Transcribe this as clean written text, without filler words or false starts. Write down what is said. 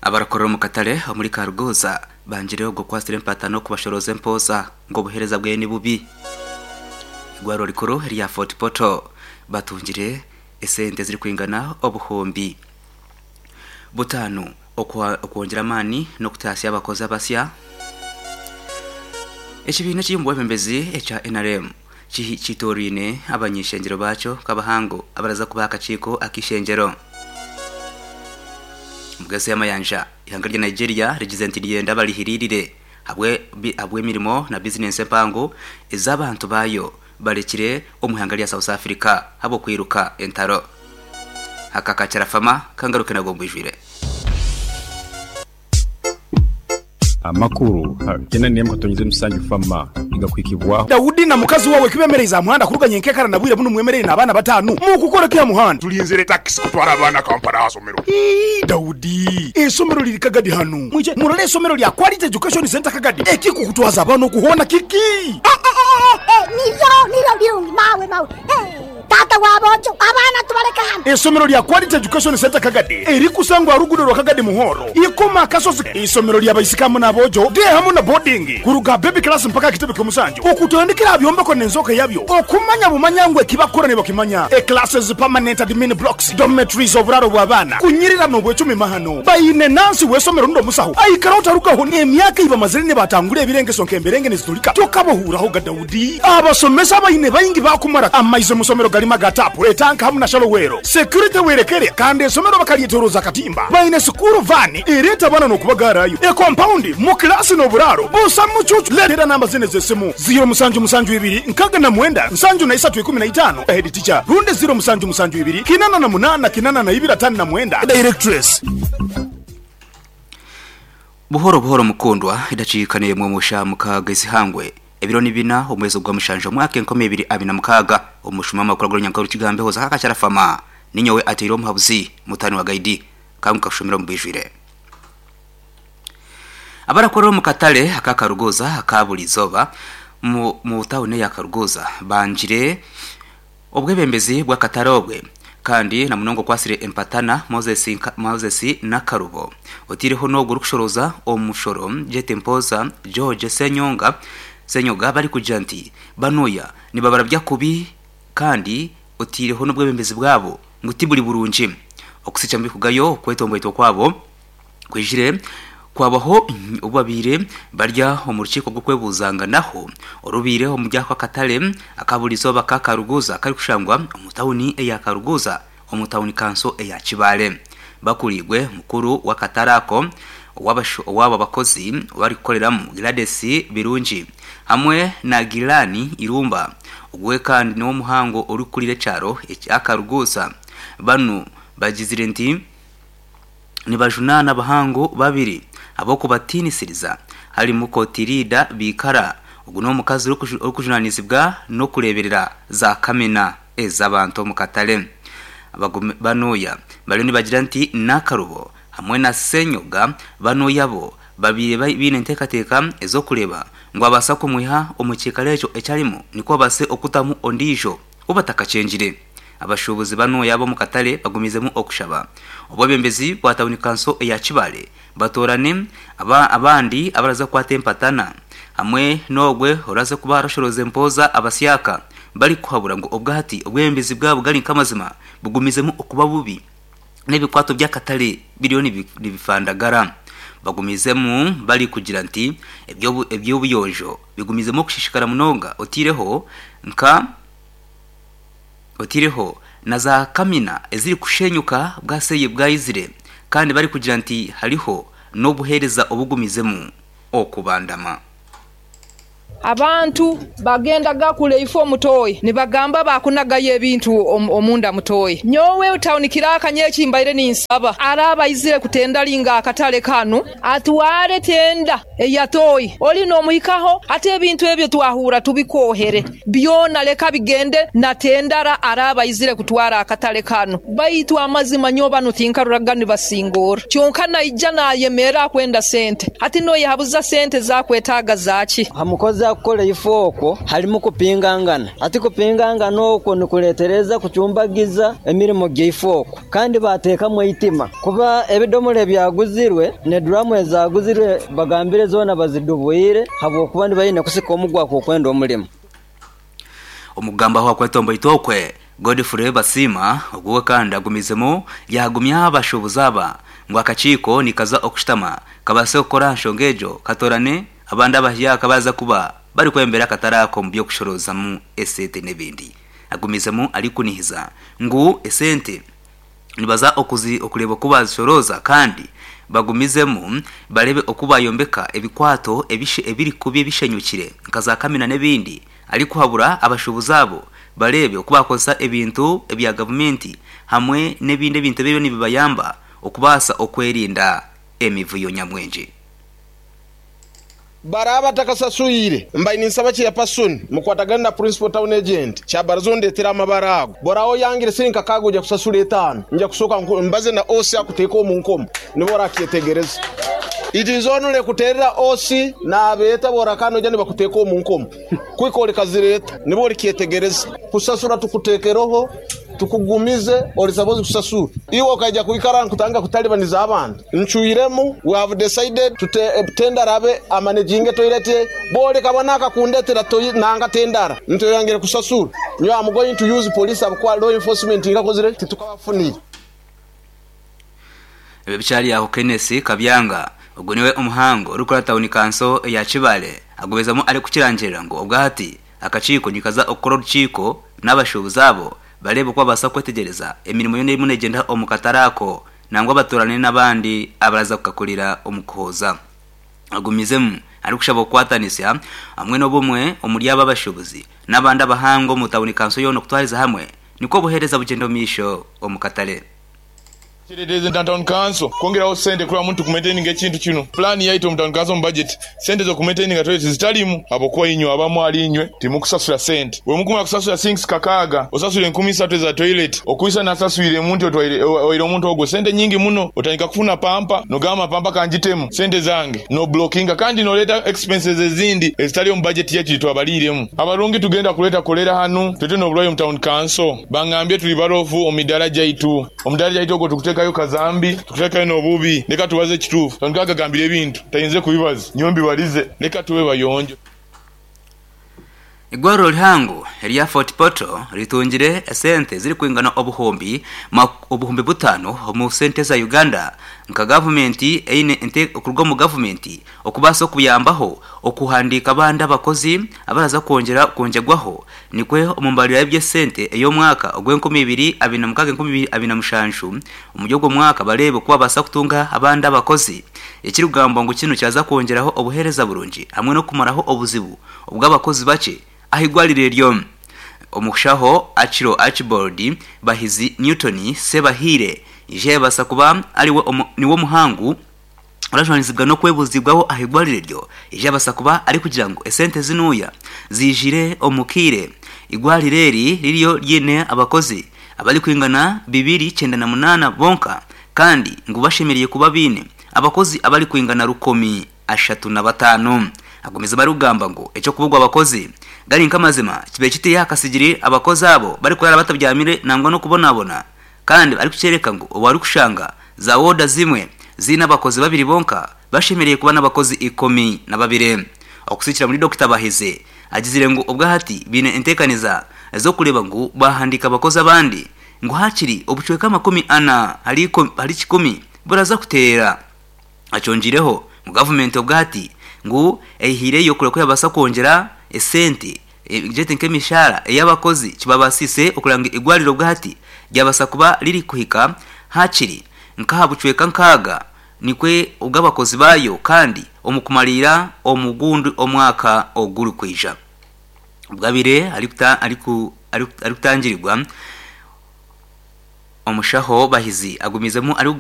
Abarakorera omu katare omuri Karuguza bangire ogwo okwasire empatano kubashoroza empooza ngu obuheereza bweye ni bubi. Eigwariro rikuru erya Fort Portal batungire esente ezirikwingana obuhumbi butaano okwongyera amaani n'okutaasya abakozi abasya. Ekibiina ekiri omu bwebembezi ekya NRM kitoraine abany'ishengyero baakyo nk'abahangu abaraza kuba aha kakiiko ak'eishengyero. Omugazi y'amayanja, eihanga rya Nigeria rigize nti niryenda barihiririre ahabw'emirimo na bizinensi empango ezi abantu baayo barekire omu ihanga rya South Africa ahabw'okwiruka entaro. Aka ka Kyarafama kangaruke nago mbwijwire. Amakuru gena nemu katonyeze musanju fama nigakuhikibwaho. Daudi na mukazi wawe kibemereize aha muhanda kuruga nyenkekara na bwire bunu mwemereire n'abaana batanu mukukora ki aha muhanda? Tulinzire takisi kutwara abaana Kampala aha somero. Ii, Daudi, eisomero liri Kagadi hanu. Mwije murole eisomero lya Quality Education Centre Kagadi. Ekikukutwaza abaana oku hoona kiki? Eh, eh, eh, eh, niryo, niryo birungi, mawe, mawe. Eh. Taata wa boojo, abaana tubaleke hanu. Eisomero lya Quality Education Centre Kagadi erikusangwa aha ruguudo rwa Kagadi Muhoro, Ikoma Akasozi. Eisomero lya baisiki hamu n'aboojo, day hamu na boarding, kuruga aha baby class mpaka aha kitebe ky'omusanju, okutandikira aha byombeko n'enzooka yabyo, okumanya bumanya ngu eki bakukora nibakimanya. E Classes, permanent admin blocks, dormitories, oburaaro bw'abaana, kunyirira n'obwecumi mahano. Baine nansi w'eisomero rundi omusaho aikara otarugaho n'emyaka ei bamazire nibatangura ebirengeso nk'emberenge niziturika tokabahuuraho ga Daudi. Abasomesa abaine baingi baakumara amaizi omu somero garimu aga taapu, etanka hamu na shalowero. Security werekere kandi esomero bakaryetoroza akatimba. Baine sikuuru vaani ereeta abaana n'okubagaarayo. Ekompaundi, mu kilaasi n'oburaaro busa mucuucu. Leetera namba zinu ez'esimu, ziiro musanju musanju ibiri nkaga na mwenda nsanju na isatu ikumi na itaano, Head teacher, rundi ziiro musanju musanju ibiri kinana na munaana kinana na ibiri atano na mwenda, Directress. Buhoro buhoro mukundwa, edakiika n'emwe omu shaaha mukaaga ezihangwe. Ebiro ni bina omwezi ogwa mushanju omwaka 2026, omushuma w'amakuru ag'orunyankore Rukigambeho Zaha Kakyarafama ninyowe ateire omuhabuzi mutaani wa Gaidi Kangu kakushomera omu bwijwire. Abarakorera omu katare aka Karuguuza aka buri izooba mu mu tauni eya Karuguuza bangire obwebembezi bw'akatare obwe kandi na munonga okwatsire empatana Moses Moses Nakarubo oteireho n'ogwo orikushorooza omushoro Jete Mpoza George Ssenyonga Ssenyoga barikugira nti banuya nibabarabya kubi kandi oteireho n'obwebembezi bwabo ngu tiburi burungi. Okusikya mubikugayo okwetomboitwa kwabo Kwijire kwabaho obu babaire barya omu rukiiko rw'okwebuuzanganaho orubaire omuri ako akatare aka buri izooba aka Karuguuza akarikushangwa omu tauni eya Karuguuza omu tauni kanso eya Kibaale. Bakuriirwe mukuru w'akatare ako ow'aba bakozi barikukoreramu Gladys Birungi hamwe na Gilani Irumba ogwe kandi niwe omuhango orikukurira ekyaro ekya Karuguuza. Banu bagizire nti. Nibajunaana abahangu babiri ahabw'okubatiinisiriza harimu Kotirida Biikara, ogu n'omukazi orikujunaanizibwa n'okureeberera za kamina ez'abantu omu katare. Banuya bariyo nibagira nti Nakarubo hamwe na Ssenyoga Banuya bo babaire baine enteekateeka ez'okureeba ngu babaasa kumwiha omu kiikaro ekyo eki arimu nikwo babaase okutamu ondiijo ou batakakyengire. Abashuubuzi banooya ab'omu katare bagumiizemu okushaba obwebembezi bwa tauni kanso eya Kibaale batoorane abandi abaraza kukwata empatana hamwe n'ogwe oraze kuba arashorooza empooza abasyaka barikuhabura ngu obwahati obwebembezi bwabo gari nk'amazima bugumizemu okuba bubi n'ebikwato by'akatare biriyo nibifandagara. Bagumizemu barikugira nti eby'obuyonjo bigumizemu okushishikara munonga oteireho nka Otaireho na za kamina ezirikushenyuka bwaseeye bwaizire kandi barikugira nti hariho n'obuheereza obugumizemu okubandama. Abantu bagendaga kule ifo mu toyi nibagamba bakunagayo ebintu omunda mu toyi. Nyowe tawuni kiraka nyo ekimbaire ninsaba araba aizire kutendalinga akatale kanu atware tenda eya toyi oli nomuhikaho ate ebintu ebyo twahurra tubikoohere byona leka bigende na tendara araba aizire kutwara akatale kanu baitu amazima nyowe banu tinkaruraga nibasingorra kyonka naija nayemerra akwenda sente hati noyehabuza sente zakwetaaga zaki? Aha mukozi. Ekyakukora eifo okwo harimu kupingangana. Hati kupingangana okwo nikureetereza kucumbagiza emirimo gyaifo okwo kandi baateekamu eitima kuba ebidomora ebyaguzirwe n'eduraamu ezaaguzirwe bagambire zoona bazidubwire habw'okuba nibaine kusika omugwa kw'okwenda omurimo. Omu kugambaho aha kwetomboitwa okwe, Godfrey Basiima ogwo kandi agumizemu yaagumya abashuubuzi aba ngu akakiiko nikaza okushutama kabaase kukora aha nshonga egyo katoorane abandi abahyaka abaraza kuba barikwebembera akatare ako omu by'okushoroozamu esente n'ebindi. Agumizemu arikunihiza ngu esente nibaza okureeba oku baazishorooza kandi bagumizemu bareebe oku baayombeka ebikwato ebirikubi ebishenyukire nka za kamina n'ebindi arikuhabura abashuubuzi abo bareebe oku baakozesa ebintu ebya gavumenti hamwe n'ebindi ebintu ebiriyo nibibayamba okubaasa okwerinda emivuyo nyamwingi. Baraaba batakasaswire, mbaire ninsaba Chairperson mukwatagane na Principal Town Agent Kyabaraza ondetere amabara ago. Bw'oraabe oyangire siringi kakaaga oija kusasura etaano. Nja kusooka mbaze na OC akuteeke omu nkomo nibwo orakyetegereza. It is only kuteerera OC naabeeta bw'orakana oija nibakuteeka omu nkomo kuhika orikazireeta nibwo orikyetegereza. Kusasura tukuteekereho tukugumize ori supposed kusasura. Iwe okaija kwikara nkutandika kutalibaniza abantu. Ncwiremu, we have decided to tendara abe amanaginge toilet ye, bwoleka bwana akakundetera toi nanga tendara nti oyangire kusasura, nyowe am going to use police ahabw'okuba law enforcement nkakozire titukabafunire. Ebyo bikyari aho Kenneth Kabyanga ogu niwe omuhangu orikukora tawuni kanso eya Kibaale agumizamu arikukirangirira ngu obwahati akakiiko nikaza okukora orukiiko n'abashuubuzi abo bareebe oku babaasa kwetegyereza emirimo yoona erimu negyenda omu katare ako Nangwa batoorane n'abandi abaraza kukakorera omu kuhooza. Agumizemu arikushaba okukwatanisa hamwe n'obumwe omuri abo abashuubuzi n'abandi abahangu omu tawuni kanso yoona okutwariza hamwe nikwo obuheereza bugyenda omu maisho omu katare. Kireetereza Town Council kwongeraho sente kuraba muntu kumaintaininga ekintu kinu. Pulaani yaitu omu Town Council omu budget Sente z'okumaintaininga toilet zitarimu ahabw'okuba inywe abamu ahari inywe timukusasura sente. Bwemukumara kusasura sinks kakaaga, osasura 3000 eza toilet. Okwisa nasaswiremu nti otwaire owaire omuntu ogwo sente nyingi muno. Otandika kufuna pampa nogamba pampa kangitemu sente zange. No blockinga kandi noreeta expenses ezindi ezitari omu budget yaitu gyetwabariiremu. Abarungi tugenda kureeta kolera hanu twete n'oburwaire omu town council. Bangambye turi barofu omu midaara gyaitu. Omudaara gyaitu ogwo tukuteekayo kazambi, tukuteekayo n'obubi. Leka tubaze ekituufu. Tandika agagambire ebintu tayinze kubibaza. Nyowe mbibarize. Leka tube bayonjo. Eigwariro rihango erya Fort Portal ritungire esente zirikwingana 5000 omu sente za Uganda nka gavumenti eine okuruga omu gavumenti okubaasa okuyambaho okuhandiika abandi abakozi abaraza kwongyera kwongyegwaho Nikwo omu mbarira y'eby'esente ey'omwaka ogw'enkumi ibiri abiri na mukaaga enkumi ibiri abiri na mushanju, omuri ogwo mwaka bareebe oku babaasa kutunga abandi abakozi. Ekirikugambwa ngu kinu kyaza kwongyeraho obuheereza burungi hamwe n'okumaraho obuzibu obw'abakozi bakye aha igwariro eryo. Omushaho Achiro Archibald Bahizi Newton Sebahiire ija yabaasa kuba ariwe niwe omuhangu Orajwanizibwa n'okwebuuzibwaho aha igwariro eryo, eji abaasa kuba arikugira ngu esente zinuuya ziijire omu kaire. Igwariro eri ririyo ryine abakozi abarikwingana 298 bonka kandi ngu bashemereire kuba baine abakozi abarikwingana 135. Agumizemu arikugamba ngu eky'okubugwa abakozi gari nk'amazima kibaire kitiiha aha kasigiri abakozi abo barikuraara batabyamire nangwa n'okubonabona Kandi arikukyoreka ngu obu arikushanga za wooda zimwe ziine abakozi babiri bonka, bashemereire kuba n'abakozi 12. Okusikira muri Dokita Bahizi, agizire ngu obwahati baine enteekaniza z'okureeba ngu baahandiika abakozi abandi ngu hakiri obucweka 40 ahari kikumi buraza kuteera. Akyongiireho ngu gavumenti obwahati ngu eihaireyo kureba ku yabaasa kwongyera esente Gyete nk'emishaara ey'abakozi kibabaasise okureba ngu eigwariro obwahati ryabaasa kuba ririkuhika haakiri nk'aha bucweka nkaaga nikwe obw'abakozi baayo kandi omu kumariira omu gundi omwaka ogurikwija. Obwabaire arikutangirirwa, omushaho Bahizi agumiizemu arikugamba.